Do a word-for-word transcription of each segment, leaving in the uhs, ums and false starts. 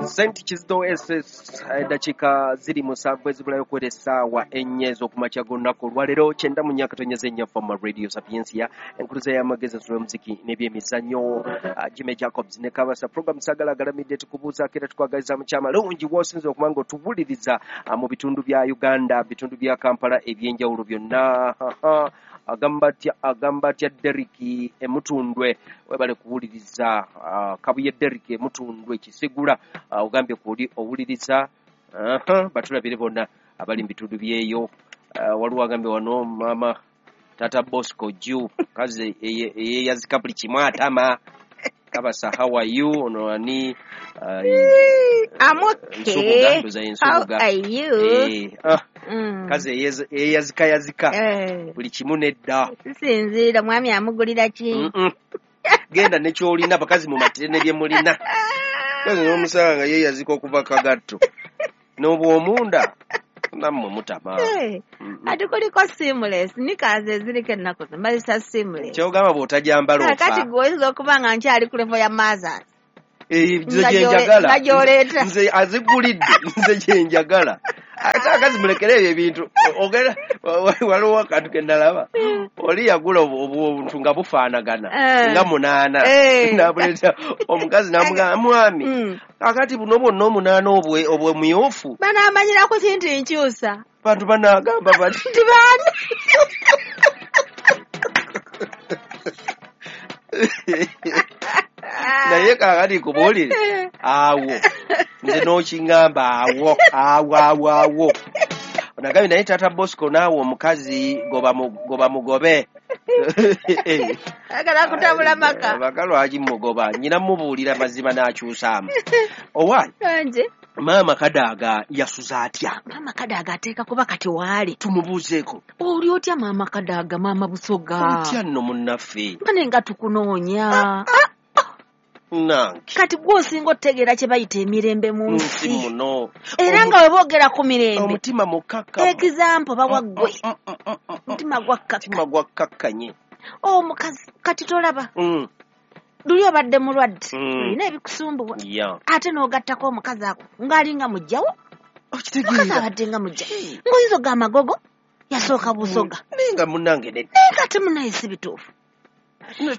Saint Kizito S S, eddakiika ziri musanvu ezibulayo okuwera essaawa ennya ez'okumakya g'olunaku olwaleero kyenda mu nnya katonyeza ennya Fama Radio Sapientia, enkuluza y'amagezi ensolo y'omuziki n'ebyemizannyo. Jimmy Jacobs ne Kabasa program Sagala Agalamidde tukubuuzaako era tukwagaliza mukyama lungi w'osinze okuba nga otuwuliriza mu bitundu bya Uganda, bitundu bya Kampala eby'enjawulo byonna. Agamba atya, agamba atya Derrick Emutundwe, webale kuwuliriza. Kabuye Derrick Emutundwe Kisigula, ogambye kuli owuliriza. Batulabire bonna abali mu bitundu byeyo. Waliwo agambye wano mama Tata Bosco Ju kaze eyeyazika buli kimu atama. Kabasa, how are you? Ono ani? I'm okay. How are you? Eh, ah, mm. Kaze eyazika yazika buli kimu nedda. Sinziira mwami amugulira ki? Mm -mm. Genda ne ky'olina bakazi mumatire ne bye mulina. Kaze n'omusanga ye yazika okuva kagatto. N'obwomunda nammwe mutama. Hey, mm -mm. Ate kuliko seamless, nikaze eziriko ennaku zino bazisa seamless. Ky'ogamba bw'otajambala ofa. Kati gwe oyinza okuba nga nkyali ku level ya mothers. Eh, nze gye njagala. Nga gy'oleeta. Nze azigulidde, nze gye njagala. Ate akazi mulekere ebyo ebintu. Ogera waliwo akantu ke nalaba. Oli yagula obuntu nga bufaanagana nga munaana. N'abuleeta omukazi n'amugamba mwami kakati buno bwonna omunaana obwe obwemyufu. Banaamanyira ku kintu nkyusa. Bantu banaagamba bati nti baani? Naye kaakati nkubuulire awo nze n'okiŋŋamba awo awo awo awo onagambye naye Tata Bosco naawe omukazi goba goba mugobe. Agala kutabula maka. Maka lwaki mugoba? Nnyina mubuulira mazima n'akyusaamu. Owaaye Maama Kadaga yasuza atya? Maama Kadaga ateeka kuba kati waali. Tumubuuzeeko. Oli otya Maama Kadaga, Maama Busoga? Otya nno munnaffe. Bane nga tukunoonya. Nange. Kati gw'osinga otegeera kye bayita emirembe mu nsi muno. Era nga bwe boogera ku mirembe. Omutima mukakkamu. Example bawa ggwe. Omutima gwakkakka. Omutima gwakkakkanye. Omukazi kati tolaba. Luli obadde mulwadde. Olina ebikusumbuwa. Ate n'ogattako omukazi ako ng'alinga muggyawo. Okitegeera. Omukazi abadde nga muggya. Ng'oyinza ogamba Magogo yasooka Busoga. Naye nga munnange nedda. Naye kati munnaye si bituufu.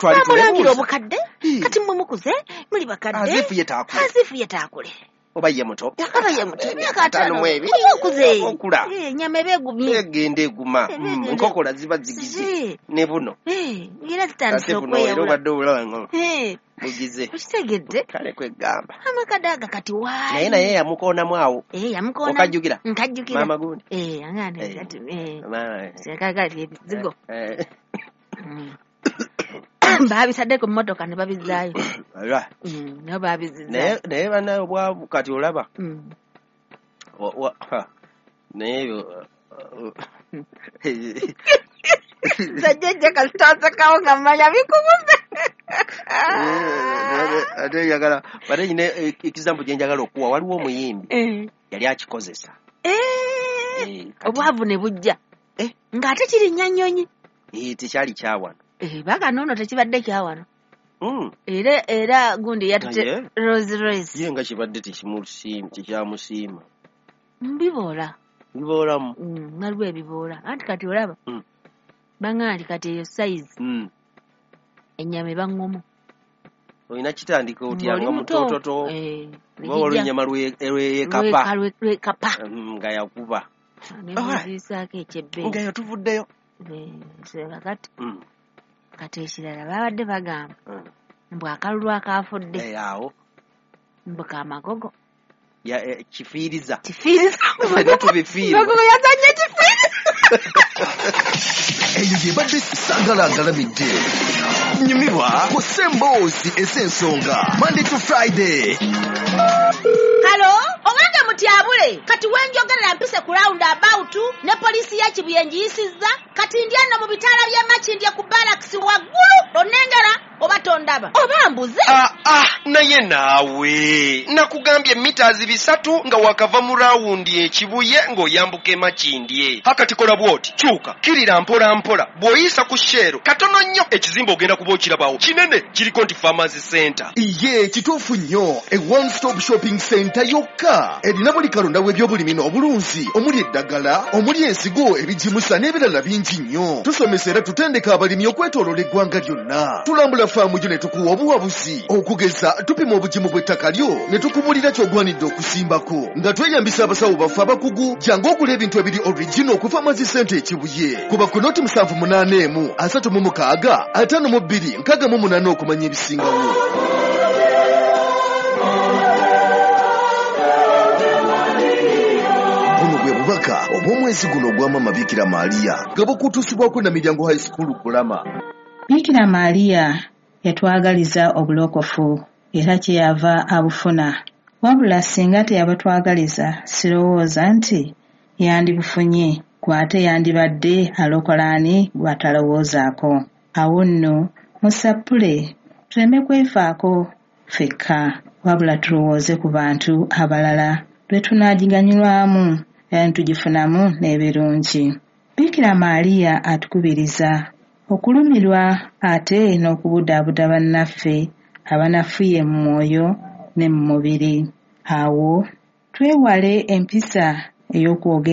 Bamulangira obukadde kati mmwe mukuze muli bakadde. Azifu ye taakule. Azifu ye taakule. Oba ye muto. Oba ye muto. Emyaka ataano mu ebiri. Okuze. Okula. Ennyama eba egumye. Egenda eguma. Enkokola ziba zigize. Ne buno. Era zitandise okweyawula. Era obadde obulaba nga bugize. Okitegedde. Kale kwegamba. Amakadaaga kati waali. Naye naye yamukoonamu awo. Eh, yamukoona. Okajjukira? Nkajjukira. Maama gundi. Eh, angane kati eh. Kati ebizigo. Eh. Babisadde ku mmotoka ne babizzaayo. Nabo babizzaayo. Naye bannaye obwavu kati olaba. Naye ebyo nze jjajja kasita nsekawo nga mmanya bikubuze. Ate njagala ate nyina example gye njagala okuwa, waliwo omuyimbi yali akikozesa. Obwavu ne bujja. Ng'ate kirinnya nnyonyi. Tekyali kyawano. Eh, baga nono tekibadde kyawano. Mm. Era era gundi yatute Rolls Royce. Ye nga kibadde tekimusiima, tekyamusiima. Mbiboola. Biboolamu. Mm, waliwo ebiboola. Anti kati olaba. Mm. Banga nti kati eyo size. Mm. Ennyama eba ŋŋomu. Olina kitandika otya nga mutototo. Eh, oba waliwo ennyama lwekapa. Lwekapa. Nga yakuba. Ne muziisaako ekyebbeeyi. Nga yo tuvuddeyo. Eh, kati. Mm. Kati ekirala babadde bagamba mbu akalulu akaafudde awo mbu kamagogo kifiiriza kifiiriza tubifiirwa Magogo yazannya kifiiriza. Eyo yebadde Sagala Agalamidde. Nyumirwa ku Semboozi ez'ensonga Monday to Friday. Halo, owange mutyabule kati wenjogerera mpise ku round about ne poliisi ya Kibuye ngiyisizza kati ndi ano mu bitaala by'e Makindye ku barracks waggulu onengera. Oba tondaba oba mbuze. Ah, ah, naye naawe nakugambye mitazi bisatu nga wakava mu raawundi ekibuye ng'oyambuka emakindye. Hakati kola bw'oti, kyuka kirira mpola mpola, bw'oyisa ku sheero katono nnyo ekizimbe ogenda kuba okirabawo kinene kiriko nti Farmers Center. Iye kituufu nnyo, e one stop shopping center yokka erina buli kalonda w'ebyobulimi n'obulunzi omuli eddagala, omuli ensigo, ebigimusa n'ebirala bingi nnyo. Tusomesa era tutendeka abalimi okwetooloola eggwanga lyonna. Tulambula faamu gyo ne tukuwa obuwabuzi, okugeza tupima obugimu bw'ettaka lyo ne tukubuulira ky'ogwanidde okusimbako nga tweyambisa abasawo baffe abakugu. Jangu ogula ebintu ebiri original ku Farmers Center ekibuye. Kuba ku noti musanvu munaana emu asatu mu mukaaga ataano mu bbiri nkaaga mu munaana okumanya ebisingawo. Buno bwe bubaka obw'omwezi guno ogwa Maama Bikira Maria nga bukutuusibwako na Miryango High School Kulama. Bikira Maria yatwagaliza obulokofu era kyeyava abufuna. Wabula singa teyabatwagaliza, sirowooza nti yandibufunye, gw'ate yandibadde alokola ani gw'atalowoozaako. Awo nno musappule tuleme kwefaako ffekka, wabula tulowooze ku bantu abalala lwe tunaagiganyulwamu era ne tugifunamu n'ebirungi. Bikira Maria atukubiriza okulumirwa ate n'okubudaabuda bannaffe abanafuye mu mwoyo ne mu mubiri. Awo twewale empisa ey'okwogera